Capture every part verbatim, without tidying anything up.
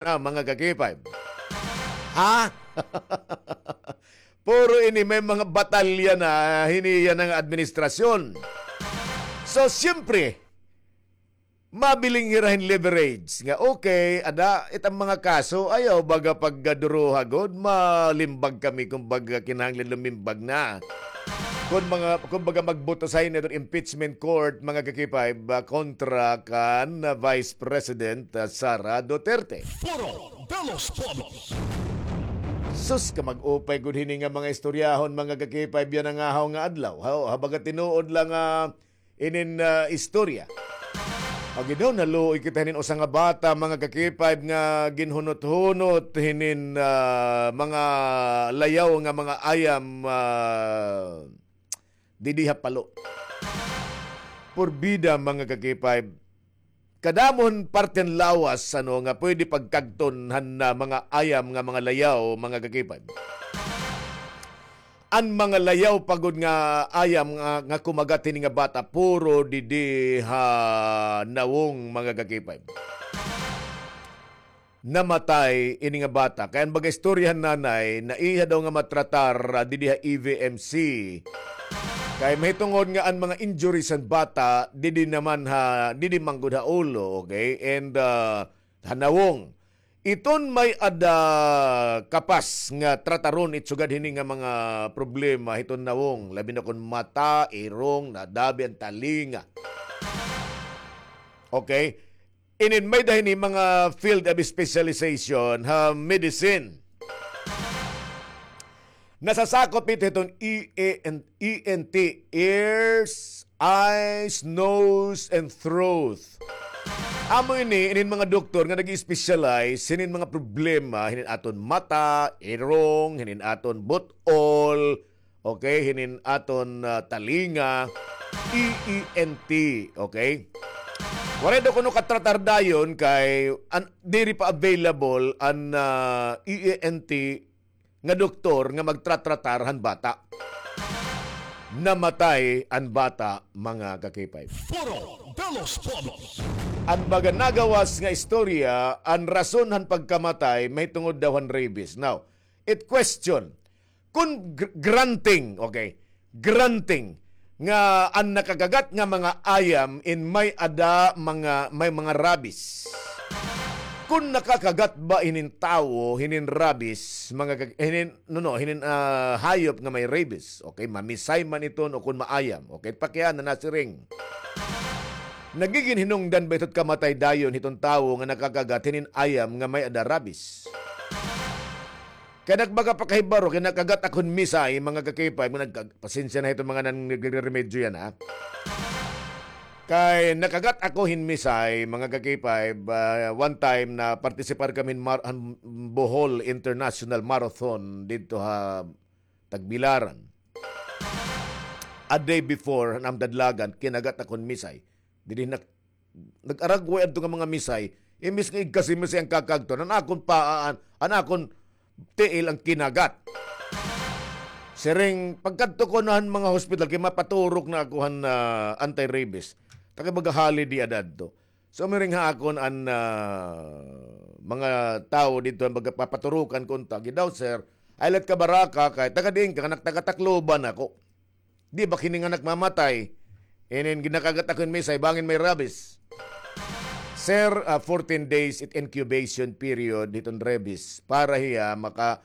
na, mga ka-K five. Ha? Puro ini may mga batalya na hini yana nga administrasyon. So, siyempre, mabiling hira hin leverage nga, okay, ada it an mga kaso, ayaw baga pagduruha gud, malimbag kami, kumbaga, kinahanglan lumimbag na. Kun mga, kumbaga, magboto sa ini hito impeachment court, mga ka-K five, ah, kontra kan, ah, Vice President, ah, Sara Duterte. Foro de los Pueblos. Sus, ka mag-upay gud hini nga mga istoryahon, mga ka-K five, yana nga haw nga adlaw. Haw, ha, baga tinuod la nga inin, ah, istorya. Agi daw, naluoy kita hinin usa nga bata, mga ka-K five, nga ginhunot-hunot hinin, ah, mga layaw nga mga ayam, ah, didi ha Palo. Purbida, mga ka-K five. Kadamo hin parte han lawas, ano, nga pwede pagkagton han, ah, mga ayam nga mga layaw, mga ka-K five. An mga layaw pa gud nga ayam nga, nga kumagat hini nga bata, puro didi ha Nawong, mga ka-K five. Namatay ini nga bata. Kay an baga istorya han nanay, naiha daw nga matratar, ah, didi ha E V M C. Kay mahitungod nga an mga injuries han bata, didi naman ha, didi man gud ha ulo, okay? And, ah, ha Nawong. Iton may-ada kapas nga trataron it sugad hini nga mga problema hiton Nawong, labi na kon mata, irong, nadabi an talinga. Okay? Inin may-ada hini mga field of specialization ha medicine. Nasasakop ito hiton E N, E N T, ears, eyes, nose, and throat. Amo ini, inin mga doktor nga nag-specialize hinin mga problema, hinin aton mata, irong, hinin aton but-ol, okay, hinin aton, ah, talinga, E E N T, okay? Waray daw kuno katratar dayon kay an, diri pa available an, ah, E E N T nga doktor nga magtratratar han bata. Namatay an bata, mga ka-K five. Foro de los Pueblos. An baga nagawas nga istorya, an rason han pagkamatay mahitungod daw han rabies. Now, it question, kun gr-, granting, okay, granting nga an nakakagat nga mga ayam in may-ada mga, may mga rabies. Kun nakakagat ba hinin tawo hinin rabies, mga kag-, hinin, no, no, hinin, ah, hayop nga may rabies, okay, mamisay man iton o kun maayam, okay, pakiana nasiring. Nagigin hinungdan ba ito kamatay dayon hiton tawo nga nakakagat hinin ayam nga may-ada rabies? Kay nagbaga pa kahibaro, kay nakagat ako hin misay, mga ka-K five, nga nagkag-, pasensya na hiton mga nan-, nagre-remedyo yana, ha? Kay nakagat ako hin misay, mga ka-K five, ah, one time na partisipar kami hin mar-, han Bohol International Marathon didto ha Tagbilaran. A day before, han amon dadlagan, kinagat ako hin misay. Didi nak-, nag-aragway adto nga mga misay, imbis nga igkasi-misay an kakagton, an akon paa, an, an akon tiil an kinagat. Siring, pagkadto ko na han mga hospital, kay mapaturok na ako han, ah, anti-rabies. Ta kay baga holiday ada adto. So, miring ha akon an, ah, mga tawo didto, baga papaturokan ko unta. Agi daw, sir, ay lat ka baraka, kay taga diin ka, anak, taga Tacloban ako. Di ba kini nga anak mamatay? Inin ginakagat ako hin misay, bangin may rabies. Sir, ah, fourteen days it incubation period hiton rabies para hiya maka-,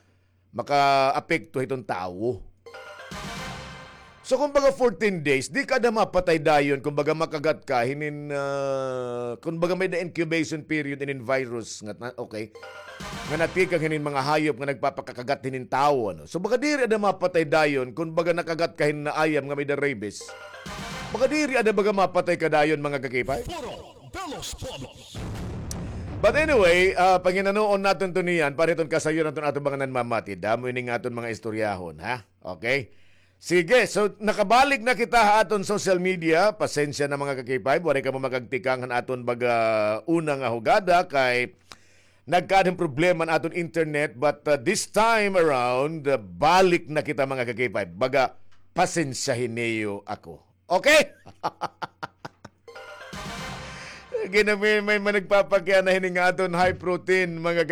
makaapekto hiton tawo. So, kumbaga, fourteen days, di ka ada mapatay dayon, kumbaga, makagat ka hinin, ah, kumbaga, may-ada incubation period inin virus nga, na, okay, nga natikang hinin mga hayop nga nagpapakakagat hinin tawo, ano. So, baga diri ada mapatay dayon, kun baga nakagat ka hin ayam nga may-ada rabies. Baga diri ada baga mapatay ka dayon, mga ka-K five. Foro de los Pueblos. But anyway, ah, panginanoon naton to niyan, para hiton kasayon naton aton mga nanmamati. Damo ini nga aton mga istoryahon, ha? Okay? Sige, so nakabalik na kita ha aton social media. Pasensya na, mga ka-K five, waray kamo makagtikang han aton baga una nga hugada kay nagkaada hin problema an aton internet, but, uh, this time around, uh, balik na kita, mga ka-K five. Baga, pasensyahi niyo ako. Okay? Ginamay may man nagpapakiana hini nga aton high protein, mga